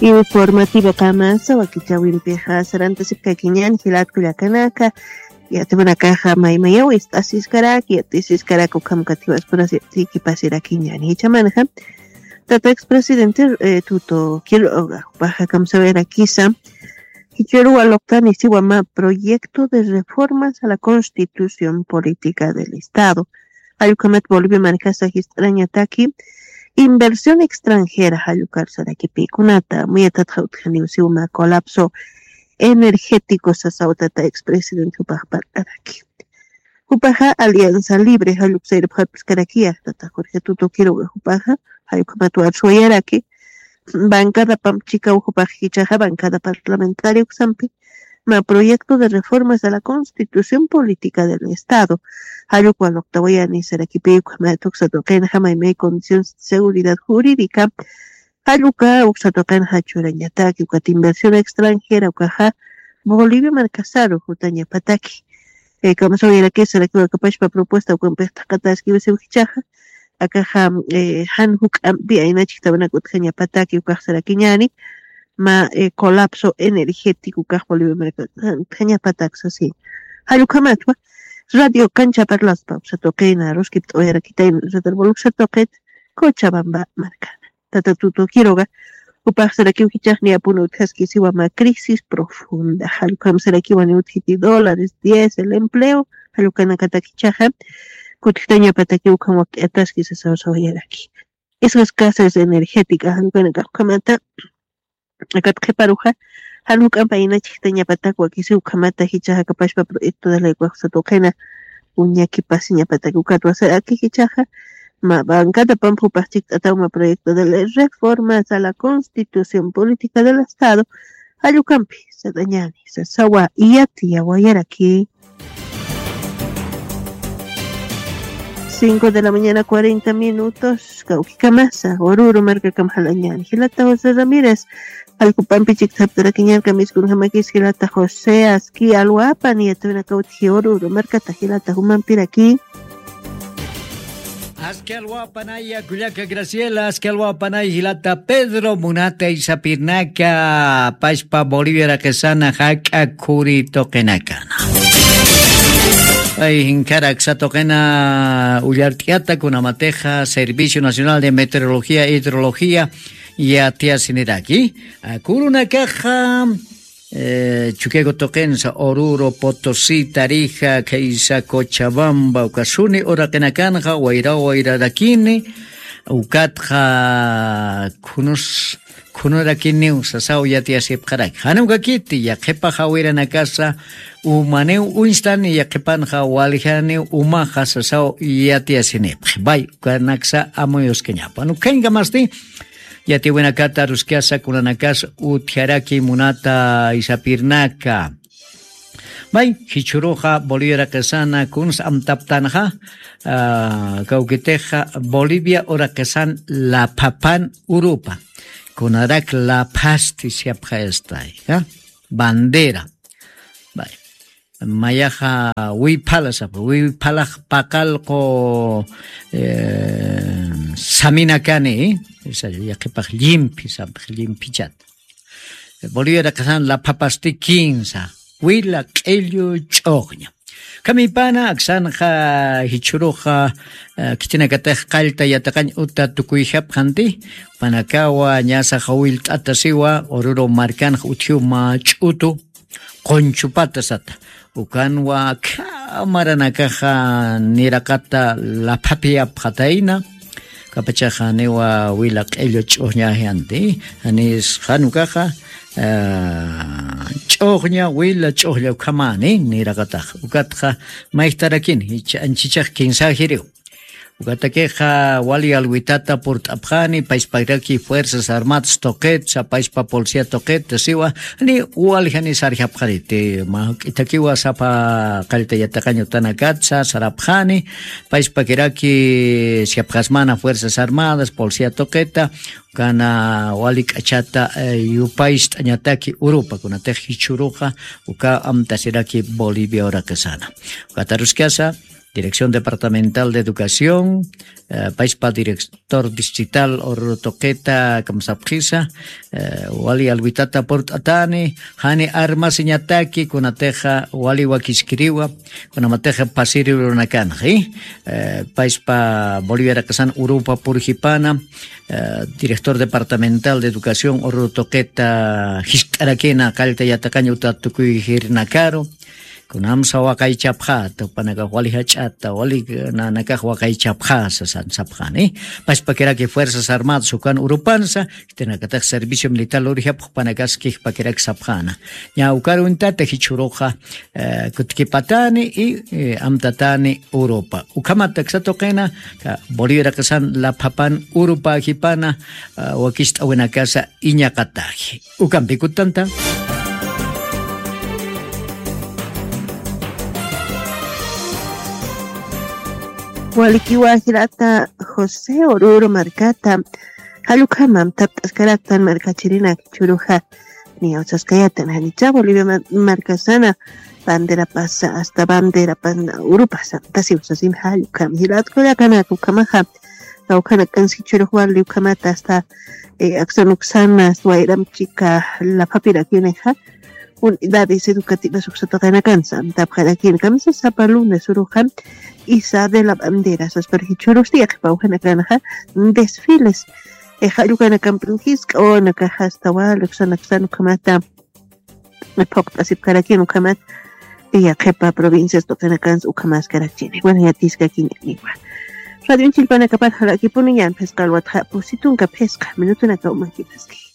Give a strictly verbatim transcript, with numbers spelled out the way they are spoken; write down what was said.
Informativo kamasa wakichawimpixa sarantasipkakiñan jilatku llakanaka. Yatiwanakaxa maymayaw ist'asiskaraki yat'isiskaraki ukham katiwaspurasi yat'ikipasirakiñani jichamanxa. Tata expresidente, eh, tuto quiroga jupaxa kamsawirakisa. Jichuru waloqtani siwama proyecto de reformas a la constitución política del estado. Jallukhamat bolivia markasa jist'arañataki inversión extranjera jallukar sarakipïkunata muyatatxa utjaniw siwama colapso energético sasaw tata expresidente jupax park'araki. Jupaxa alianza libre jalluk sayrupxarpskarakiyaj tata jorge tuto quiroga jupaxa jallukhamat warsuwayaraki. Bancada pamp chikaw jupax jichaxa bancada parlamentaria uksampi ma proyecto de reformas a la constitución política del estado. Jalluk waloqtawayani sarakipï ukhamat uksatuqinxa maymay condición seguridad jurídica. Jalluk uksatuqinxa churañataki ukat inversión extranjera ukaxa bolivia markasaru jutañapataki. Kamsawayarakisarakipakapashpa propuesta ukampix thaqataskiwasiw jichaxa. Akaxa jan juk'ampi ayna chiktawanak utjañapataki ukaxsarakiñani. Ma colapso energético ukax bolivia markasaru utjañapatak sasi. Jallukhamatwa radio kancha parlaspa uksatuqina ruskipt'awayarakitayna radarbol uksatuqit cochabamba markana. Tata tuto quiroga jupaxsarakiw jichaxni apuna utjaskisiwa ma crisis profunda jallukhamsarakiwani utjiti dólares diez el empleo. Jallukanakatakichaxa kutjitañapatakiw ukham wakt'ataski sasawasawayaraki. Esas casas energéticas jallukanakax ukhamata akat qhiparuxa jan juk'ampa inachiktañapatak wakisiw ukhamata jichaxa kapashpa proyecto de ley ukaxsatuqina uñakipasiñapatak ukatwasaraki jichaxa ma bancada pampupax chikt'ataw ma proyecto de ley reformas a la constitución política del estado. Jallukampi satañani sasawa iyati yawayaraki. Cinco de la mañana cuarenta minutos kawkikamasa ururu markakam jalañani jilata josé ramírez. Allkupampi chiktaptarakiñarka miskunjamakis jilata josé aski alwapan yatawinakawtji ururu markata jilata jumampiraki. Aski alwapanaya kullaka graciela aski alwapanay jilata pedro munata isapirnaka pashpa bolivia raqisana jak'a khuri tuqinakana. Ay jinkara aksa tuqina ullart'yata kunamatixa servicio nacional de meteorología hidrología yatiyasiniraki. Kurunakaxa chukiaku tuqinsa oruro potosí tarija khaysa cochabamba uka suni uraqinakanxa wayraw wayrarakini. Ukatxa khunus khunurakiniw sasaw yatiyasipxaraki jan ukakiti yaqhipax jawiranakasa umaniw uñstani yaqhipanxa waljaniw umaxa sasaw yatiyasinipxi bay ukanaksa amuyuskañapan ukhañkamasti. Yatiwinakata aruskasa kunanakas utjaraki munata isapirnaka. May jichhuruxa bolivia uraqisana kuns amtaptanxa kawkitixa bolivia uraqisana laphapan urupa kunarak laphasti siyapxayastay bandera. Mayaxa wiphala sapa wiphalax paqallqu saminakani. Yaqhipax llimphi sapax llimphichata bolivia raqasan laphapasti kinsa wila q'illu ch'uqña. Kamipana aksanxa jichhuruxa khitinakatax qallta yataqañ uta tukuyjapxanti panakawa ñasaxa willt'ata siwa ururu markanxa utjiw mä ch'utu qunchupata sata ukanwa khamaranakaxa niraqata laphapiyapxatayna. Kapachaxa niwa wila q'illu ch'uqñajianti janis janukaxa ch'uqña wila ch'uqlla ukhamani niraqataxa ukatxa mayjtarakini anchichax kinsajiriw. Ukatakixa wali alwitata purt'apxani payspakiraki fuerzas armadas tuqitsa payspa policía tuqita siwa ni wali jani sarjapxariti mä juk'itakiwa sapa qallta yatiqañ utanakatsa sarapxani. Payspakiraki siapxasmana fuerzas armadas policía tuqita ukana wali k'achata yupayst'añataki urupa kunatix jichhuruxa uka amtasiraki bolivia uraqisana. Ukataruskasa Dirección Departamental de Educación, payspa director distrital ururu tuqita kamsapxisa. Wali alwitata purt'atani, jani armasiñataki kunatixa wali wakiskiriwa, kunamatixa pasirirunakanxi. Payspa boliviaraqasan urupa purjipana, director departamental de educación ururu tuqita jist'arakina qallta yataqañ uta tukuy jirnakaru. Kunamsa waqaychapxata jupanakax wali jach'ata wali nanakax waqaychapxasa sansapxani. Paspakiraki fuerzas armadas ukan urupansa, jitinakatax servicio militar lurjapx jupanakas kijpakiraki sapxana. Ña ukaruntata jichhuruxa kutkipatani y amtatani urupa ukhamata ksatuqina. Boliviaraqasan laphapan urupajipana wakist'awinakasa iñaqataji. Ukampikutanta. Walikiwa jirata josé ururu markata. Jallukhamam tapt'askaraktan markachirinak churuja. Niyawasaskayatan janicha bolivia markasana bandera pasa asta bandera pana urupasa tasiwsasin jallukham jilatkullakanak ukhamaja. Kawkhanakans jichurux wali ukhamata asta aksanuksana asta wayram chika laphapirakinixa. Unidades educativas uksataqinakansa amtapxarakini kamisa sapa lunes uruxa. Isa de la bandera saspar jichurus tiyaqipawjanakanxa desfiles. Jallukanakampinkis k'awanakaxa asta wali uksanaksan ukhamata phuqt'asipkarakin ukhamat. Yaqhipa provincias tuqinakansa ukhamaskarakchini bueno yatiskakiñaniwa. Radionchillpanakapat jalakipuniñan phisqa alwatxa pusitunka phisqa minutunaka umankiphaski.